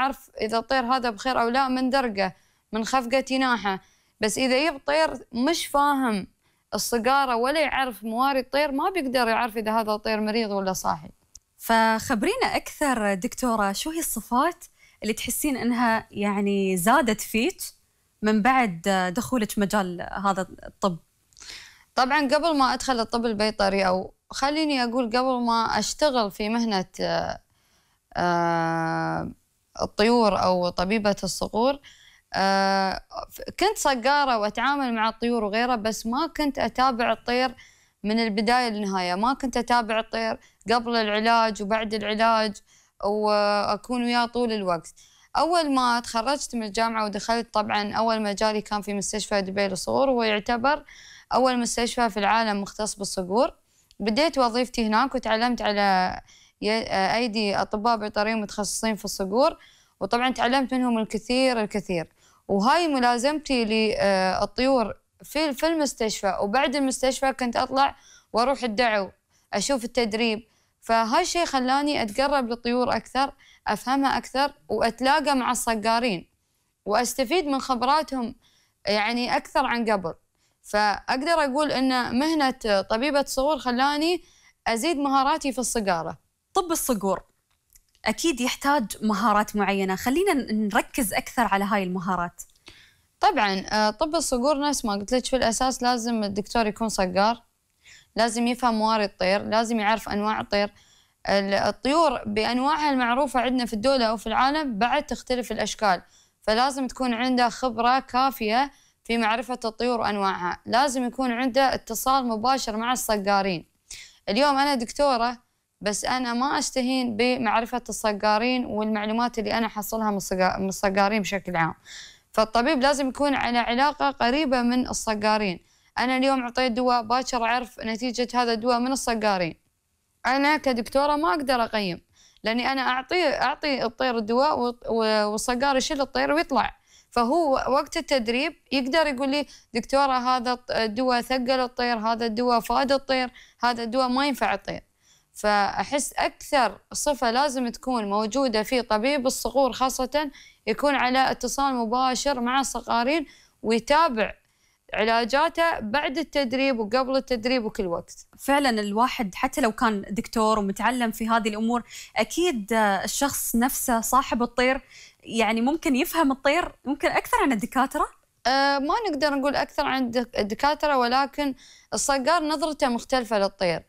أعرف إذا الطير هذا بخير أو لا من درقه، من خفقة جناحه. بس إذا يجيب طير مش فاهم الصقارة ولا يعرف مواري الطير، ما بيقدر يعرف إذا هذا الطير مريض ولا صاحي. فخبرينا أكثر دكتورة، شو هي الصفات اللي تحسين أنها يعني زادت فيك من بعد دخولك مجال هذا الطب؟ طبعاً قبل ما أدخل الطب البيطري، أو خليني أقول قبل ما أشتغل في مهنة الطيور أو طبيبة الصقور، كنت صقارة وأتعامل مع الطيور وغيرها، بس ما كنت أتابع الطير من البداية للنهاية. ما كنت أتابع الطير قبل العلاج وبعد العلاج، وأكون وياه طول الوقت. أول ما تخرجت من الجامعة ودخلت، طبعاً أول مجالي كان في مستشفى دبي للصقور، وهو يعتبر أول مستشفى في العالم مختص بالصقور. بديت وظيفتي هناك وتعلمت على أيدي أطباء بيطريين متخصصين في الصقور، وطبعاً تعلمت منهم الكثير الكثير. وهاي ملازمتي للطيور في المستشفى، وبعد المستشفى كنت أطلع وأروح الدعو أشوف التدريب. فهاي الشيء خلاني أتقرب للطيور أكثر، أفهمها أكثر، وأتلاقى مع الصقارين وأستفيد من خبراتهم يعني أكثر عن قبل. فأقدر أقول أن مهنة طبيبة الصقور خلاني أزيد مهاراتي في الصقارة. طب الصقور أكيد يحتاج مهارات معينة، خلينا نركز أكثر على هاي المهارات. طبعاً طب الصقور نفس ما قلت لك، في الأساس لازم الدكتور يكون صقار، لازم يفهم مواري الطير، لازم يعرف أنواع الطير. الطيور بأنواعها المعروفة عندنا في الدولة أو في العالم بعد تختلف الأشكال، فلازم تكون عنده خبرة كافية في معرفة الطيور وأنواعها. لازم يكون عنده اتصال مباشر مع الصقارين. اليوم أنا دكتورة، بس أنا ما أستهين بمعرفة الصقارين والمعلومات اللي أنا حصلها من الصقارين بشكل عام. فالطبيب لازم يكون على علاقة قريبة من الصقارين. أنا اليوم أعطيت دواء، باكر أعرف نتيجة هذا الدواء من الصقارين. أنا كدكتورة ما أقدر أقيم، لأني أنا أعطي الطير الدواء والصقار يشيل الطير ويطلع. فهو وقت التدريب يقدر يقول لي دكتورة هذا الدواء ثقل الطير، هذا الدواء فاد الطير، هذا الدواء ما ينفع الطير. فأحس أكثر صفة لازم تكون موجودة في طبيب الصقور خاصة، يكون على اتصال مباشر مع الصقارين ويتابع علاجاته بعد التدريب وقبل التدريب وكل وقت. فعلا الواحد حتى لو كان دكتور ومتعلم في هذه الأمور، أكيد الشخص نفسه صاحب الطير يعني ممكن يفهم الطير ممكن أكثر عن الدكاترة. ما نقدر نقول أكثر عن الدكاترة، ولكن الصقار نظرته مختلفة للطير،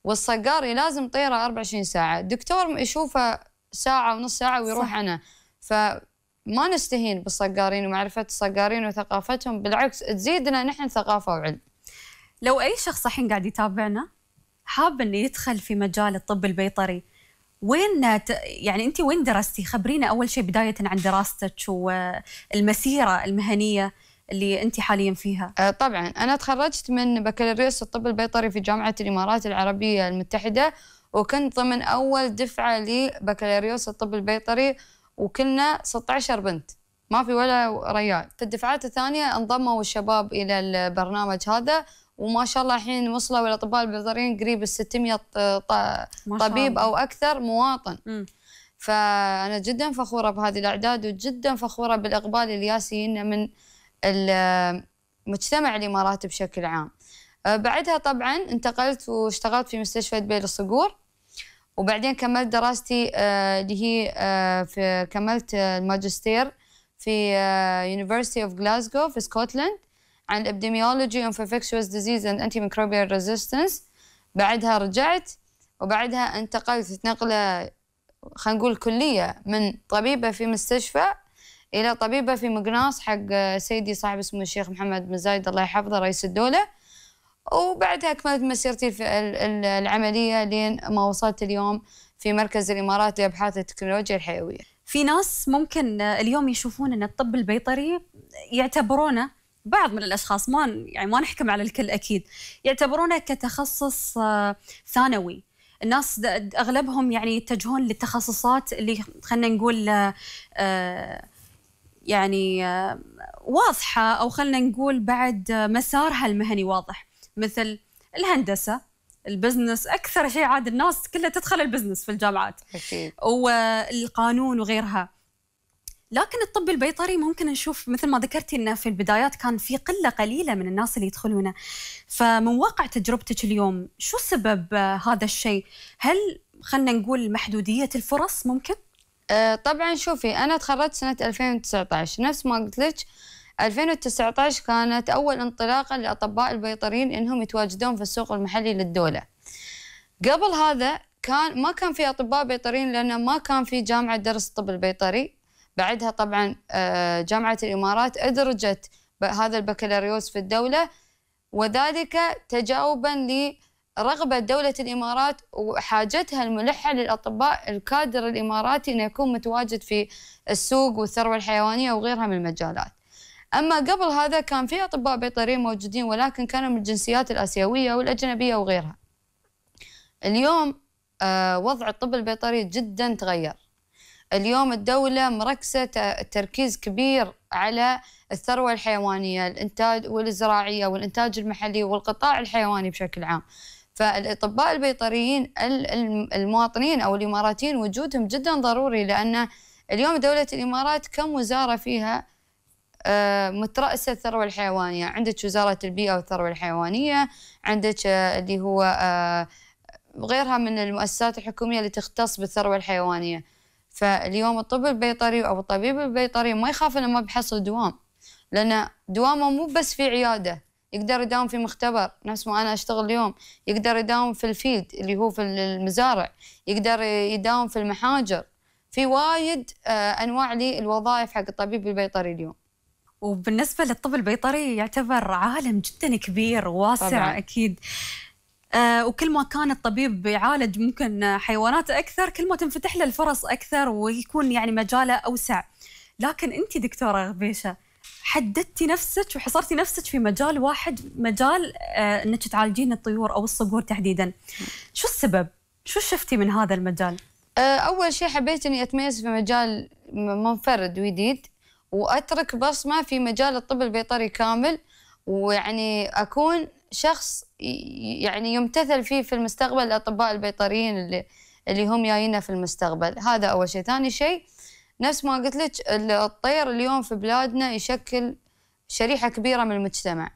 والصقار لازم طيره 24 ساعة، الدكتور يشوفه ساعة ونص ساعة ويروح عنه. فما نستهين بالصقارين ومعرفة الصقارين وثقافتهم، بالعكس تزيدنا نحن ثقافة وعلم. لو أي شخص الحين قاعد يتابعنا حاب إنه يدخل في مجال الطب البيطري، يعني أنت وين درستي؟ خبرينا أول شيء بداية عن دراستك والمسيرة المهنية اللي أنت حاليا فيها. طبعا أنا تخرجت من بكالوريوس الطب البيطري في جامعة الإمارات العربية المتحدة، وكنت ضمن أول دفعة لبكالوريوس الطب البيطري، وكنا 16 بنت ما في ولا رجال. في الدفعات الثانية انضموا الشباب إلى البرنامج هذا، وما شاء الله الحين وصلوا الأطباء البيطريين قريب 600 طبيب أو أكثر مواطن. فأنا جدا فخورة بهذه الأعداد، وجدا فخورة بالإقبال اللي ياسينا من المجتمع الإماراتي بشكل عام. بعدها طبعا انتقلت واشتغلت في مستشفى دبي للصقور، وبعدين كملت دراستي اللي هي كملت الماجستير في University of Glasgow في اسكتلند عن Epidemiology of Infectious Disease and Antimicrobial Resistance. بعدها رجعت، وبعدها انتقلت نقلة خلينا نقول كلية من طبيبة في مستشفى إلى طبيبة في مقناص حق سيدي صاحب اسمه الشيخ محمد بن زايد الله يحفظه رئيس الدولة. وبعدها أكملت مسيرتي في العملية لين ما وصلت اليوم في مركز الإمارات لأبحاث التكنولوجيا الحيوية. في ناس ممكن اليوم يشوفون أن الطب البيطري يعتبرونه، بعض من الأشخاص ما نحكم على الكل أكيد، يعتبرونه كتخصص ثانوي. الناس أغلبهم يعني يتجهون للتخصصات اللي خلنا نقول يعني واضحة، أو خلنا نقول بعد مسارها المهني واضح، مثل الهندسة، البزنس. أكثر شيء عاد الناس كلها تدخل البزنس في الجامعات، أكيد. والقانون وغيرها. لكن الطب البيطري ممكن نشوف مثل ما ذكرتي أنه في البدايات كان في قلة قليلة من الناس اللي يدخلونه. فمن واقع تجربتك اليوم شو سبب هذا الشيء؟ هل خلنا نقول محدودية الفرص ممكن؟ طبعا شوفي، أنا تخرجت سنة 2019، نفس ما قلت لك 2019 كانت أول انطلاقة للأطباء البيطريين إنهم يتواجدون في السوق المحلي للدولة. قبل هذا ما كان في أطباء بيطريين، لأنه ما كان في جامعة درس الطب البيطري. بعدها طبعا جامعة الإمارات أدرجت هذا البكالوريوس في الدولة، وذلك تجاوبا لرغبة دولة الإمارات وحاجتها الملحة للأطباء الكادر الإماراتي أنه يكون متواجد في السوق والثروة الحيوانية وغيرها من المجالات. أما قبل هذا كان في أطباء بيطريين موجودين، ولكن كانوا من الجنسيات الآسيوية والأجنبية وغيرها. اليوم وضع الطب البيطري جدا تغير. اليوم الدولة مركزة تركيز كبير على الثروة الحيوانية، الإنتاج والزراعية والإنتاج المحلي والقطاع الحيواني بشكل عام. فالأطباء البيطريين المواطنين أو الإماراتيين وجودهم جدا ضروري، لأن اليوم دولة الإمارات كم وزارة فيها مترأسة الثروة الحيوانية. عندك وزارة البيئة والثروة الحيوانية، عندك اللي هو غيرها من المؤسسات الحكومية اللي تختص بالثروة الحيوانية. فاليوم الطب البيطري أو الطبيب البيطري ما يخاف إنه ما بيحصل دوام، لأن دوامه مو بس في عيادة، يقدر يداوم في مختبر نفس ما أنا أشتغل اليوم، يقدر يداوم في الفيلد اللي هو في المزارع، يقدر يداوم في المحاجر. في وايد أنواع للوظائف حق الطبيب البيطري اليوم. وبالنسبة للطب البيطري يعتبر عالم جدا كبير وواسع طبعاً. أكيد. وكل ما كان الطبيب يعالج ممكن حيوانات أكثر، كل ما تنفتح له الفرص أكثر ويكون يعني مجاله أوسع. لكن أنت دكتورة غبيشة حددتي نفسك وحصرتي نفسك في مجال واحد، مجال أنك تعالجين الطيور أو الصقور تحديداً. شو السبب؟ شو شفتي من هذا المجال؟ أول شيء حبيت أني أتميز في مجال منفرد وجديد، وأترك بصمة في مجال الطب البيطري كامل، ويعني أكون شخص يعني يمتثل فيه في المستقبل الأطباء البيطريين اللي هم جايين في المستقبل. هذا أول شيء. ثاني شيء نفس ما قلت لك، الطير اليوم في بلادنا يشكل شريحة كبيرة من المجتمع.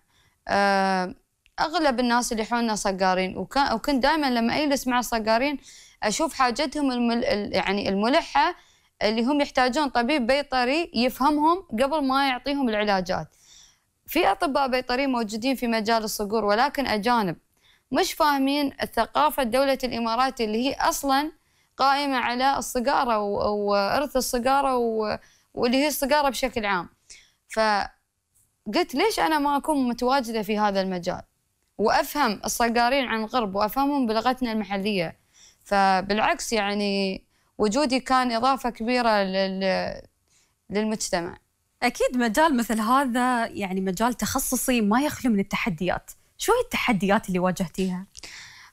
أغلب الناس اللي حولنا صقارين، وكنت دائما لما أجلس مع الصقارين أشوف حاجتهم يعني الملحة، اللي هم يحتاجون طبيب بيطري يفهمهم قبل ما يعطيهم العلاجات. في أطباء بيطريين موجودين في مجال الصقور، ولكن أجانب مش فاهمين الثقافة دولة الإمارات اللي هي أصلاً قائمة على الصقارة وإرث الصقارة واللي هي الصقارة بشكل عام. فقلت ليش أنا ما أكون متواجدة في هذا المجال وأفهم الصقارين عن قرب وأفهمهم بلغتنا المحلية. فبالعكس يعني وجودي كان إضافة كبيرة للمجتمع. أكيد مجال مثل هذا يعني مجال تخصصي ما يخلو من التحديات. شو هي التحديات اللي واجهتيها؟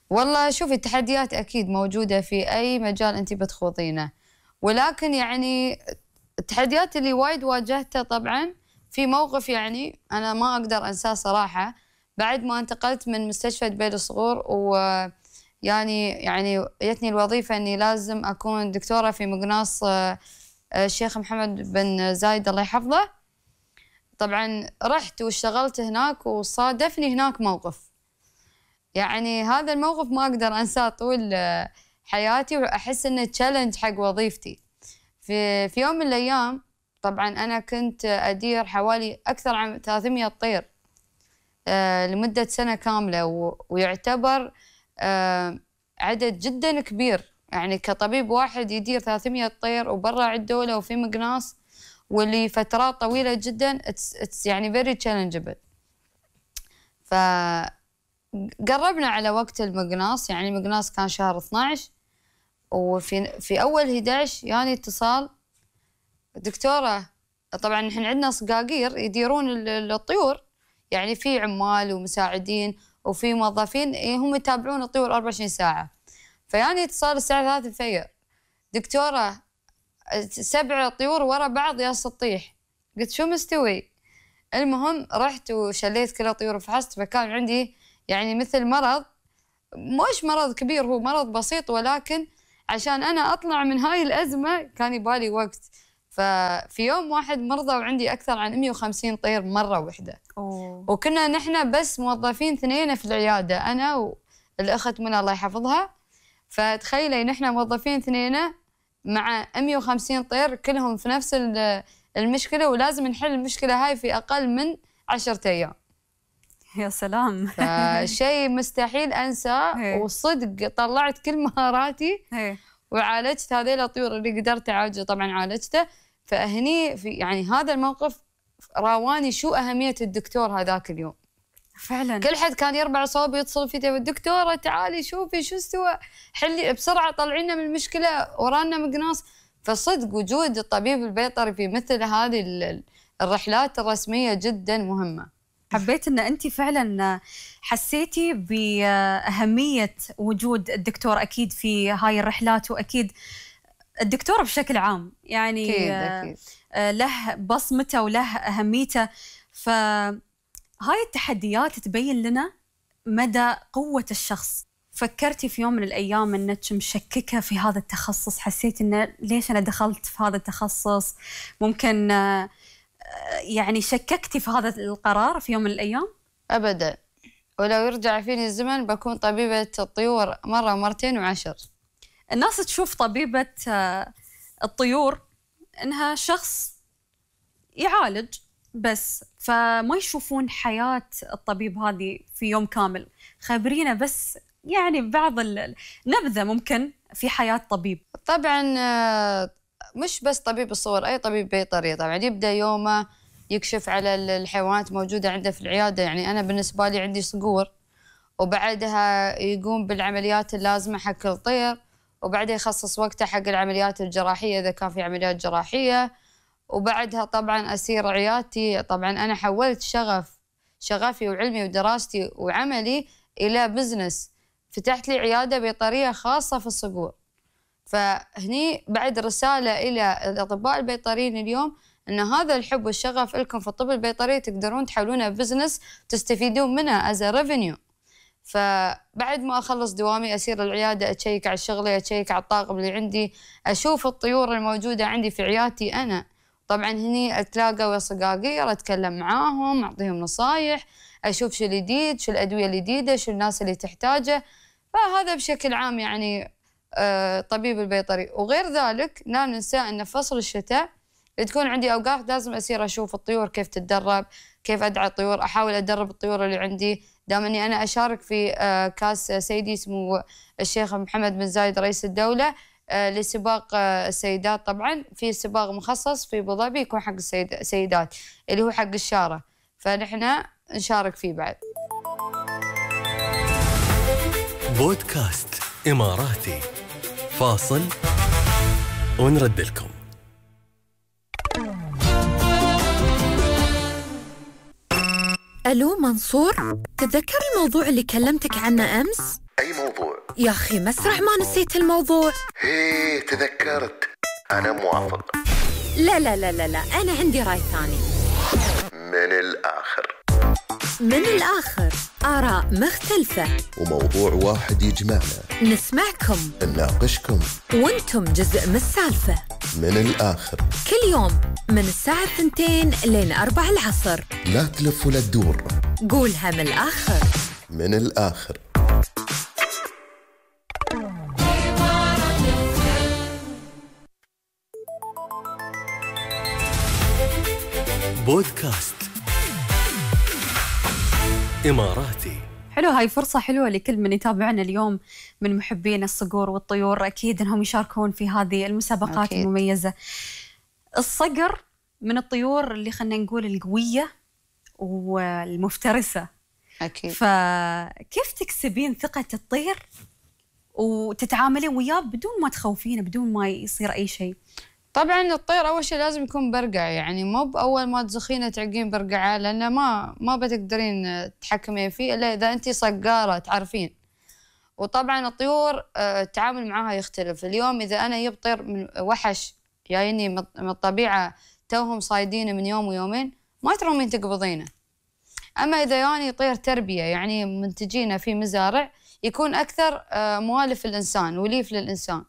والله شوفي، التحديات أكيد موجودة في أي مجال أنت بتخوضينه، ولكن يعني التحديات اللي وايد واجهتها طبعاً في موقف يعني أنا ما أقدر أنساه صراحة. بعد ما انتقلت من مستشفى دبي للصقور، يعني جتني الوظيفة أني لازم أكون دكتورة في مقناص الشيخ محمد بن زايد الله يحفظه. طبعاً رحت واشتغلت هناك، وصادفني هناك موقف، يعني هذا الموقف ما أقدر أنساه طول حياتي، وأحس إنه تشالنج حق وظيفتي. في يوم من الأيام طبعاً أنا كنت أدير حوالي أكثر عن 300 طير لمدة سنة كاملة، ويعتبر عدد جداً كبير. يعني كطبيب واحد يدير 300 طير وبرا الدولة وفي مقناص، واللي فترات طويلة جداً it's يعني very challengeable. قربنا على وقت المقناص، يعني المقناص كان شهر 12، وفي أول 11 يعني اتصال دكتورة. طبعاً نحن عندنا صقاقير يديرون الطيور، يعني في عمال ومساعدين وفي موظفين هم يتابعون الطيور 24 ساعة. فيعني اتصال الساعة 3 الفجر، دكتورة 7 طيور ورا بعض يا سطيح. قلت شو مستوي؟ المهم رحت وشليت كل الطيور وفحصت، فكان عندي يعني مثل مرض، مش مرض كبير، هو مرض بسيط، ولكن عشان أنا أطلع من هاي الأزمة كان يبالي وقت. ففي يوم واحد مرضى وعندي أكثر عن 150 طير مرة واحدة. وكنا نحن بس موظفين 2 في العيادة، أنا والأخت منى الله يحفظها. فتخيلي نحن موظفين 2 مع 150 طير كلهم في نفس المشكلة، ولازم نحل المشكلة هاي في أقل من 10 أيام. يا سلام. فشيء مستحيل أنساه، وصدق طلعت كل مهاراتي وعالجت هذيل الطيور اللي قدرت أعالجه. طبعا عالجته. فهني في يعني هذا الموقف راواني شو أهمية الدكتور هذاك اليوم. فعلا كل حد كان يربع صوب يتصل فيه، الدكتورة تعالي شوفي شو استوى، حلي بسرعة طلعينا من المشكلة، ورانا مقناص. فصدق وجود الطبيب البيطري في مثل هذه الرحلات الرسمية جدا مهمة. حبيت ان انت فعلا حسيتي باهميه وجود الدكتور اكيد في هاي الرحلات، واكيد الدكتور بشكل عام يعني أكيد. له بصمته وله اهميته. فهاي التحديات تبين لنا مدى قوه الشخص. فكرتي في يوم من الايام انك مشككه في هذا التخصص؟ حسيت انه ليش انا دخلت في هذا التخصص؟ ممكن يعني شككتي في هذا القرار في يوم من الأيام؟ أبداً. ولو يرجع فيني الزمن بكون طبيبة الطيور مرة ومرتين وعشر. الناس تشوف طبيبة الطيور إنها شخص يعالج بس، فما يشوفون حياة الطبيب هذه في يوم كامل. خبرينا بس يعني بعض النبذة ممكن في حياة طبيب. طبعاً مش بس طبيب الصور، أي طبيب بيطري طبعاً يبدأ يومه يكشف على الحيوانات موجودة عنده في العيادة. يعني أنا بالنسبة لي عندي صقور، وبعدها يقوم بالعمليات اللازمة حق الطير، وبعدها يخصص وقته حق العمليات الجراحية إذا كان في عمليات جراحية، وبعدها طبعاً أسير عيادتي. طبعاً أنا حولت شغفي وعلمي ودراستي وعملي إلى بزنس، فتحت لي عيادة بيطرية خاصة في الصقور. فهني بعد رسالة إلى الأطباء البيطريين اليوم أن هذا الحب والشغف لكم في الطب البيطري تقدرون تحولونه بزنس تستفيدون منه as a revenue. فبعد ما أخلص دوامي أسير العيادة، أتشيك على شغلي، أتشيك على الطاقم اللي عندي، أشوف الطيور الموجودة عندي في عيادتي أنا. طبعا هني أتلاقى ويا صقاقير، أتكلم معاهم، أعطيهم نصايح، أشوف شو الجديد، شو الأدوية الجديدة، شو الناس اللي تحتاجه. فهذا بشكل عام يعني طبيب البيطري. وغير ذلك لا ننسى أن في فصل الشتاء تكون عندي أوقات لازم أسير أشوف الطيور كيف تتدرب، كيف أدعى الطيور، أحاول أدرب الطيور اللي عندي. دام أني أنا أشارك في كاس سيدي سمو الشيخ محمد بن زايد رئيس الدولة لسباق السيدات. طبعا في سباق مخصص في أبو ظبي يكون حق السيدات اللي هو حق الشارة، فنحن نشارك فيه بعد. بودكاست إماراتي، فاصل ونرد لكم. ألو منصور، تتذكر الموضوع اللي كلمتك عنه أمس؟ أي موضوع؟ يا أخي مسرح ما نسيت الموضوع. هيه تذكرت، أنا موافق. لا لا لا لا لا، أنا عندي رأي ثاني. من الآخر آراء مختلفة وموضوع واحد يجمعنا، نسمعكم، نناقشكم، وانتم جزء من السالفة. من الآخر كل يوم من الساعة 2 لين 4 العصر. لا تلف ولا تدور، قولها من الآخر. من الآخر. بودكاست إماراتي. حلو، هاي فرصة حلوة لكل من يتابعنا اليوم من محبين الصقور والطيور، أكيد أنهم يشاركون في هذه المسابقات أكيد. المميزة. الصقر من الطيور اللي خلنا نقول القوية والمفترسة أكيد. فكيف تكسبين ثقة الطير وتتعاملين وياه بدون ما تخوفينه، بدون ما يصير أي شيء؟ طبعا الطير أول شيء لازم يكون برقع، يعني مو بأول ما تزخينه تعقين برقعه، لأنه ما بتقدرين تحكمين فيه إلا إذا أنتي صقارة تعرفين. وطبعا الطيور التعامل معها يختلف. اليوم إذا أنا جبت طير من وحش جايني من الطبيعة توهم صايدينه من يوم ويومين، ما ترومين تقبضينه. أما إذا يعني طير تربية، يعني منتجينه في مزارع، يكون أكثر موالف للإنسان، وليف للإنسان.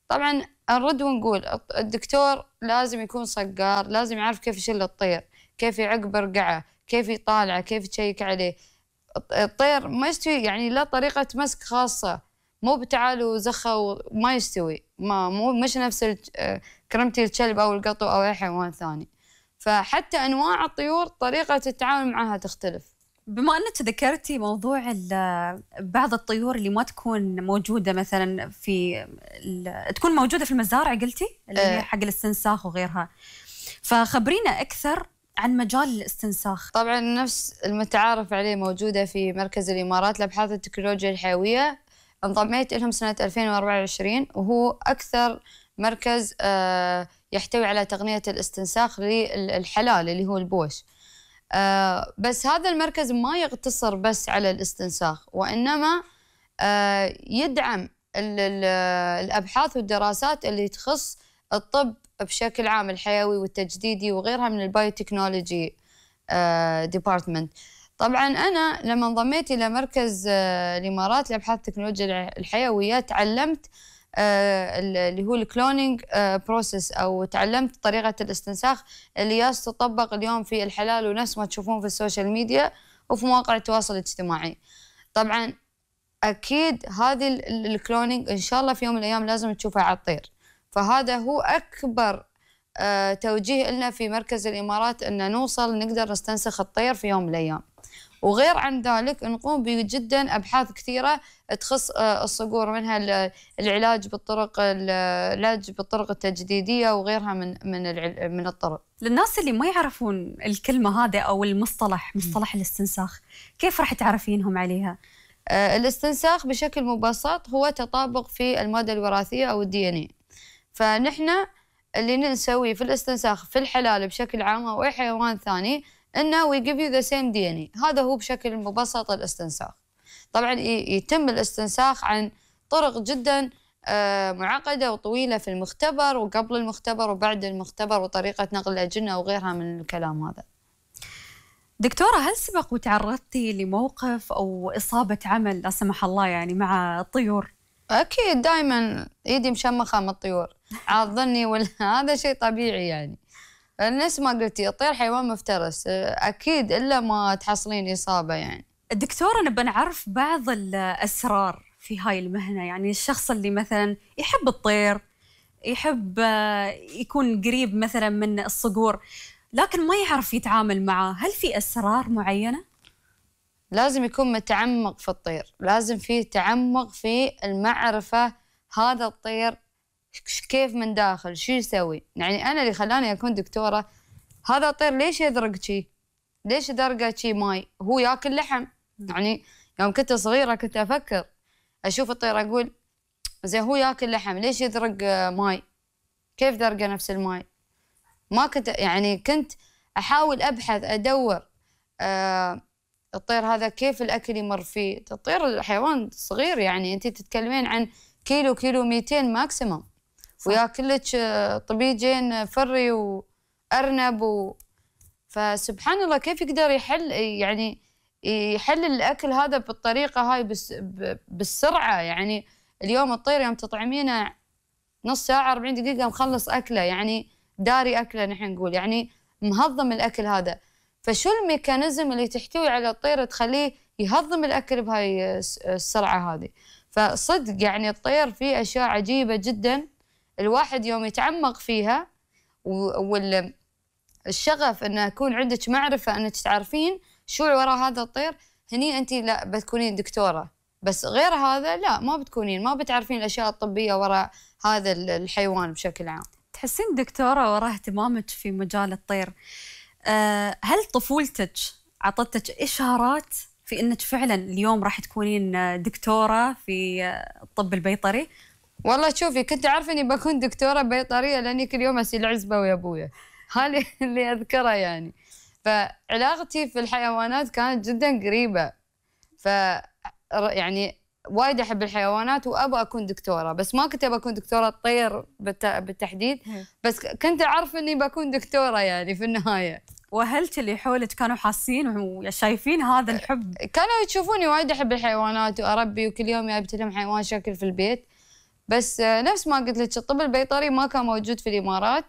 طبعا نرد ونقول الدكتور لازم يكون صقار، لازم يعرف كيف يشيل الطير، كيف يعق برقعه، كيف يطالعه، كيف يشيك عليه. الطير ما يستوي، يعني له طريقة مسك خاصة، مو بتعال وزخه وما يستوي، مش نفس كرمتي الكلب أو القطو أو أي حيوان ثاني. فحتى أنواع الطيور طريقة التعامل معها تختلف. بما أنك ذكرتي موضوع بعض الطيور اللي ما تكون موجودة مثلا تكون موجودة في المزارع، قلتي اللي هي حق الاستنساخ وغيرها، فخبرينا أكثر عن مجال الاستنساخ. طبعا نفس المتعارف عليه موجودة في مركز الإمارات لأبحاث التكنولوجيا الحيوية، انضميت لهم سنة 2024، وهو أكثر مركز يحتوي على تقنية الاستنساخ للحلال اللي هو البوش. بس هذا المركز ما يقتصر بس على الاستنساخ، وإنما يدعم الأبحاث والدراسات اللي تخص الطب بشكل عام، الحيوي والتجديدي وغيرها من البايوتكنولوجي ديبارتمنت. طبعا أنا لما انضميت إلى مركز الإمارات لأبحاث التكنولوجيا الحيوية تعلمت اللي هو الكلونينج بروسيس، أو تعلمت طريقة الاستنساخ اللي تطبق اليوم في الحلال ونفس ما تشوفون في السوشيال ميديا وفي مواقع التواصل الاجتماعي. طبعا أكيد هذه الكلونينج إن شاء الله في يوم من الأيام لازم تشوفها على الطير، فهذا هو أكبر توجيه لنا في مركز الإمارات، أن نوصل نقدر نستنسخ الطير في يوم من الأيام. وغير عن ذلك نقوم جدا أبحاث كثيرة تخص الصقور، منها العلاج بالطرق التجديدية وغيرها من الطرق. للناس اللي ما يعرفون الكلمة هذه أو مصطلح الاستنساخ، كيف راح تعرفينهم عليها؟ الاستنساخ بشكل مبسط هو تطابق في المادة الوراثية أو الDNA. فنحن اللي نسويه في الاستنساخ في الحلال بشكل عام أو أي حيوان ثاني إنه we give you the same DNA. هذا هو بشكل مبسط الاستنساخ. طبعا يتم الاستنساخ عن طرق جدا معقدة وطويلة في المختبر وقبل المختبر وبعد المختبر وطريقة نقل الأجنة وغيرها من الكلام هذا. دكتورة، هل سبق وتعرضتي لموقف أو إصابة عمل لا سمح الله يعني مع الطيور؟ أكيد، دائما إيدي مشمخة من الطيور، عاضني ولا هذا شيء طبيعي يعني. نفس ما قلتي الطير حيوان مفترس، أكيد إلا ما تحصلين إصابة يعني. الدكتورة، نبى نعرف بعض الأسرار في هاي المهنة، يعني الشخص اللي مثلا يحب الطير، يحب يكون قريب مثلا من الصقور، لكن ما يعرف يتعامل معه، هل في أسرار معينة؟ لازم يكون متعمق في الطير، لازم فيه تعمق في المعرفة هذا الطير كيف من داخل، شو يسوي. يعني أنا اللي خلاني أكون دكتورة، هذا الطير ليش يذرق شي؟ ليش يذرقه شي ماي؟ هو ياكل لحم. يعني يوم كنت صغيرة كنت أفكر، أشوف الطير أقول زي هو ياكل لحم، ليش يذرق ماي؟ كيف ذرقه نفس الماي؟ ما كنت يعني كنت أحاول أبحث أدور الطير هذا كيف الأكل يمر فيه. الطير الحيوان صغير، يعني أنت تتكلمين عن كيلو 200 ماكسيموم، وياكل لك طبيجين فري وأرنب فسبحان الله كيف يقدر يحل الأكل هذا بالطريقة هاي بالسرعة. يعني اليوم الطير يوم تطعمينه نص ساعة 40 دقيقة مخلص أكله، يعني داري أكله نحن نقول، يعني مهضم الأكل هذا. فشو الميكانيزم اللي تحتوي على الطير تخليه يهضم الأكل بهاي السرعة هذه؟ فصدق يعني الطير فيه أشياء عجيبة جدا، الواحد يوم يتعمق فيها والشغف أن يكون عندك معرفة أنك تعرفين شو وراء هذا الطير، هني أنت لا بتكونين دكتورة. بس غير هذا لا، ما بتكونين، ما بتعرفين الأشياء الطبية وراء هذا الحيوان بشكل عام. تحسين دكتورة وراء اهتمامك في مجال الطير، هل طفولتك عطتك إشارات في أنك فعلا اليوم راح تكونين دكتورة في الطب البيطري؟ والله شوفي، كنت عارفة أني بكون دكتورة بيطرية لأني كل يوم أسيل عزبة ويا أبويا، هذا اللي أذكره يعني. فعلاقتي في الحيوانات كانت جدا قريبة، يعني وايد أحب الحيوانات وأبغى أكون دكتورة، بس ما كنت أبغى أكون دكتورة طير بالتحديد، بس كنت أعرف أني بكون دكتورة يعني في النهاية. وأهلك اللي حولك كانوا حاسين وشايفين هذا الحب؟ كانوا يشوفوني وايد أحب الحيوانات وأربي، وكل يوم جايبت لهم حيوان شكل في البيت. بس نفس ما قلت لك الطب البيطري ما كان موجود في الإمارات،